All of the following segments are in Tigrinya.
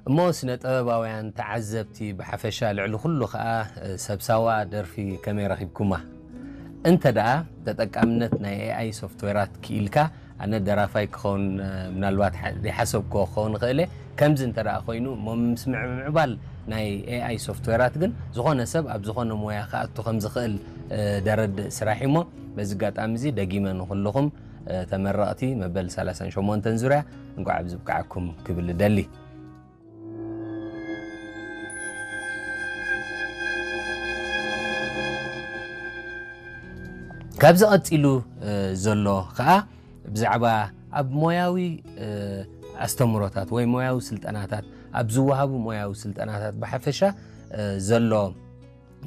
እሞ ስነ ጥበባውያን ተዓዘብቲ ብሓፈሻ፣ ልዕሊ ኩሉ ከኣ ሰብ ሳዋ ደርፊ ከመይ ረኺብኩማ? እንተ ደኣ ተጠቃምነት ናይ ኤኣይ ሶፍትዌራት ክኢልካ፣ ኣነ ደራፋይ ክኸውን ምናልባት ዘይሓሰብክዎ ክኸውን ይኽእል እየ። ከምዚ እንተ ደኣ ኮይኑ እሞ ምስ ምዕባል ናይ ኤኣይ ሶፍትዌራት ግን ዝኾነ ሰብ ኣብ ዝኾነ ሞያ ክኣቱ ከም ዝኽእል ደረድእ ስራሕ እሞ፣ በዚ ኣጋጣሚ እዚ ደጊመ ንኹልኹም ተመረቕቲ መበል ሰላሳን ሸሞንተን ዙርያ እንኳዕ ኣብዚ ብቅዓኩም ክብል እደሊ። ካብዚ ቀጺሉ ዘሎ ከኣ ብዛዕባ ኣብ ሞያዊ ኣስተምህሮታት ወይ ሞያዊ ስልጠናታት፣ ኣብ ዝወሃቡ ሞያዊ ስልጠናታት ብሓፈሻ ዘሎ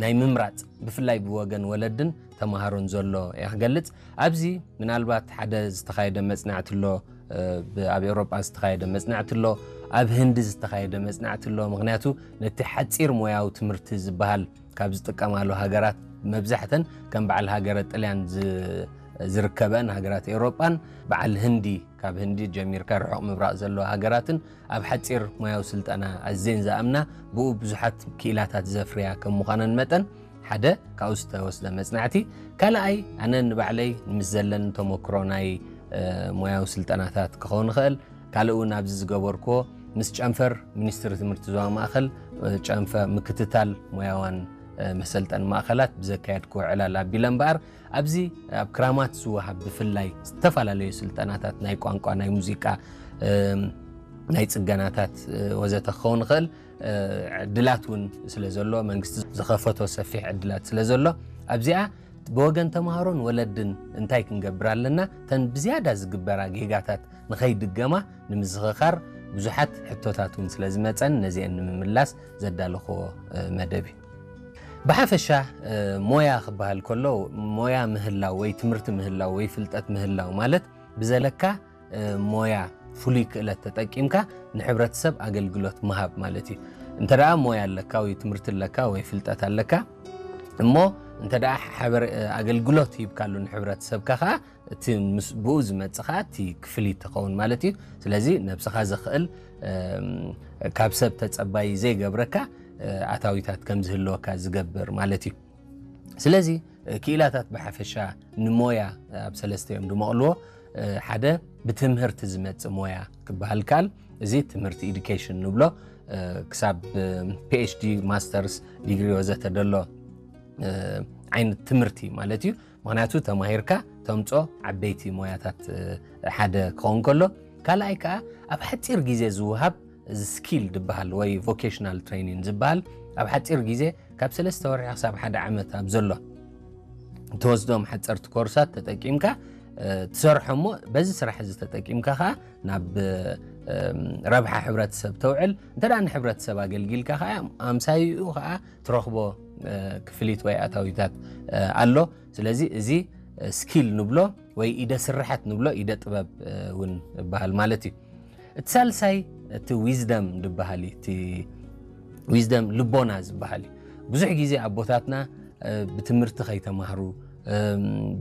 ናይ ምምራጽ፣ ብፍላይ ብወገን ወለድን ተማሃሮን ዘሎ እየ ክገልጽ። ኣብዚ ምናልባት ሓደ ዝተኻየደ መጽናዕቲ ኣሎ፣ ኣብ ኤውሮጳ ዝተኻየደ መጽናዕቲ ኣሎ፣ ኣብ ህንዲ ዝተኻየደ መጽናዕቲ ኣሎ። ምኽንያቱ ነቲ ሓጺር ሞያዊ ትምህርቲ ዝበሃል ካብ ዝጥቀማሉ ሃገራት፣ መብዛሕተን ከም በዓል ሃገረ ጥልያን ዝርከበን ሃገራት ኤውሮጳን፣ በዓል ህንዲ፣ ካብ ህንዲ ጀሚርካ ርሑቕ ምብራቕ ዘለዎ ሃገራትን ኣብ ሓጺር ሞያዊ ስልጠና ኣዝየን ዝኣምና፣ ብኡ ብዙሓት ክኢላታት ዘፍርያ ከም ምዃነን መጠን፣ ሓደ ካብኡ ዝተወስደ መጽናዕቲ። ካልኣይ፣ ኣነ ንባዕለይ ምስ ዘለኒ ተመክሮ ናይ ሞያዊ ስልጠናታት ክኸውን ይኽእል። ካልእ እውን ኣብዚ ዝገበርክዎ ምስ ጨንፈር ሚኒስትሪ ትምህርቲ ዞባ ማእከል፣ ጨንፈ ምክትታል ሞያዋን መሰልጠን ማእከላት ብዘካየድክዎ ዕላል ኣቢለ እምበኣር፣ ኣብዚ ኣብ ክራማት ዝወሃብ ብፍላይ ዝተፈላለዩ ስልጠናታት ናይ ቋንቋ፣ ናይ ሙዚቃ፣ ናይ ጽገናታት ወዘተ ክኸውን ይኽእል። ዕድላት እውን ስለ ዘሎ፣ መንግስቲ ዝኸፈቶ ሰፊሕ ዕድላት ስለ ዘሎ፣ ኣብዚኣ ብወገን ተምሃሮን ወለድን እንታይ ክንገብር ኣለና፣ እተን ብዝያዳ ዝግበራ ጌጋታት ንኸይድገማ ንምዝኽኻር ብዙሓት ሕቶታት እውን ስለ ዝመጸን፣ ነዚአን ንምምላስ ዘዳለኽዎ መደብ እዩ። ብሓፈሻ ሞያ ክበሃል ከሎ፣ ሞያ ምህላው ወይ ትምህርቲ ምህላው ወይ ፍልጠት ምህላው ማለት ብዘለካ ሞያ፣ ፍሉይ ክእለት ተጠቂምካ ንሕብረተሰብ ኣገልግሎት ምሃብ ማለት እዩ። እንተ ደኣ ሞያ ኣለካ ወይ ትምህርቲ ኣለካ ወይ ፍልጠት ኣለካ፣ እሞ እንተ ደኣ ሓበር-፣ ኣገልግሎት ሂብካሉ ንሕብረተሰብካ ከኣ፣ እቲ ምስ ብኡ ዝመጽእ ከኣ እቲ ክፍሊት ትኸውን ማለት እዩ። ስለዚ ነብስኻ ዘኽእል፣ ካብ ሰብ ተጸባይ ዘይገብረካ ኣታዊታት ከም ዝህልወካ ዝገብር ማለት እዩ። ስለዚ ክኢላታት ብሓፈሻ ንሞያ ኣብ ሰለስተ እዮም ድመቕልዎ። ሓደ ብትምህርቲ ዝመጽእ ሞያ ክበሃል ከኣል፣ እዚ ትምህርቲ ኤዱኬሽን ንብሎ፣ ክሳብ ፒኤችዲ፣ ማስተርስ ዲግሪ ወዘተ ደሎ ዓይነት ትምህርቲ ማለት እዩ። ምኽንያቱ ተማሂርካ ተምጾ ዓበይቲ ሞያታት ሓደ ክኸውን ከሎ፣ ካልኣይ ከኣ ኣብ ሓጺር ግዜ ዝወሃብ፣ እዚ ስኪል ዝበሃል ወይ ቮኬሽናል ትሬኒንግ ዝበሃል፣ ኣብ ሓጺር ግዜ ካብ ሰለስተ ወርሒ ክሳብ ሓደ ዓመት ኣብ ዘሎ ትወስዶም ሓጸርቲ ኮርሳት ተጠቂምካ ትሰርሖ እሞ፣ በዚ ስራሕ እዚ ተጠቂምካ ከኣ ናብ ረብሓ ሕብረተሰብ ተውዕል። እንተ ደኣ ንሕብረተሰብ ኣገልጊልካ ከኣ ኣምሳይኡ ከኣ ትረኽቦ ክፍሊት ወይ ኣታዊታት ኣሎ። ስለዚ እዚ ስኪል ንብሎ ወይ ኢደ ስርሓት ንብሎ፣ ኢደ ጥበብ እውን ይበሃል ማለት እዩ። እቲ ሳልሳይ እቲ ዊዝደም ዝበሃል እዩ። እቲ ዊዝደም ልቦና ዝበሃል እዩ። ብዙሕ ግዜ ኣቦታትና ብትምህርቲ ከይተማህሩ፣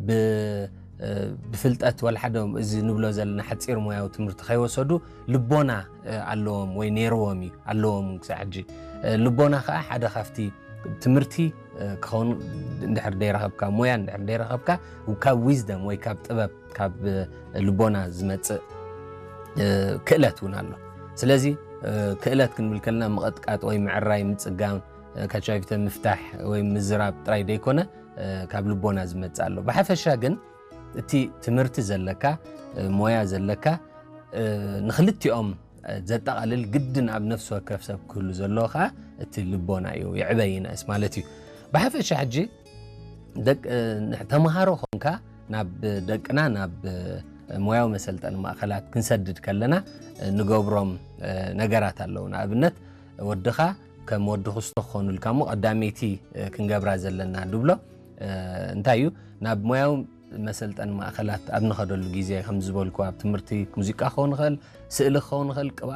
ብ-፣ ብፍልጠት ወላ ሓደ እዚ ንብሎ ዘለና ሓጺር ሞያዊ ትምህርቲ ከይወሰዱ ልቦና ኣለዎም ወይ ነይርዎም እዩ፣ ኣለዎም ክሳዕ ሕጂ። ልቦና ከኣ ሓደ ካብቲ ትምህርቲ ክኸውን እንድሕር ደይረኸብካ፣ ሞያ እንድሕር ደይረኸብካ፣ ካብ ዊዝደም ወይ ካብ ጥበብ፣ ካብ ልቦና ዝመጽእ ክእለት እውን ኣሎ። ስለዚ ክእለት ክንብል ከለና ምቕጥቃጥ ወይ ምዕራይ፣ ምጽጋም፣ ካቻቪተ ምፍታሕ ወይ ምዝራብ ጥራይ ደይኮነ፣ ካብ ልቦና ዝመጽእ ኣሎ። ብሓፈሻ ግን እቲ ትምህርቲ ዘለካ፣ ሞያ ዘለካ፣ ንኽልቲኦም ዘጠቓልል ግድን ኣብ ነፍሲ ወከፍ ሰብ ክህሉ ዘለዎ ከኣ እቲ ልቦና እዩ። ይዕበ ይንእስ ማለት እዩ። ብሓፈሻ ሕጂ ደቅ-፣ ተምሃሮ ኾንካ ናብ ደቅና ናብ ሞያዊ መሰልጠኒ ማእከላት ክንሰድድ ከለና ንገብሮም ነገራት ኣለዉ። ንኣብነት ወድኻ ከም ወዲ ክስቶ ክኾኑልካ እሞ ቀዳመይቲ ክንገብራ ዘለና ድብሎ እንታይ እዩ? ናብ ሞያዊ መሰልጠኒ ማእከላት ኣብ ንኸደሉ ግዜ ከም ዝበልኩ ኣብ ትምህርቲ ሙዚቃ ክኸውን ይኽእል፣ ስእሊ ክኸውን ይኽእል፣ ቅብኣ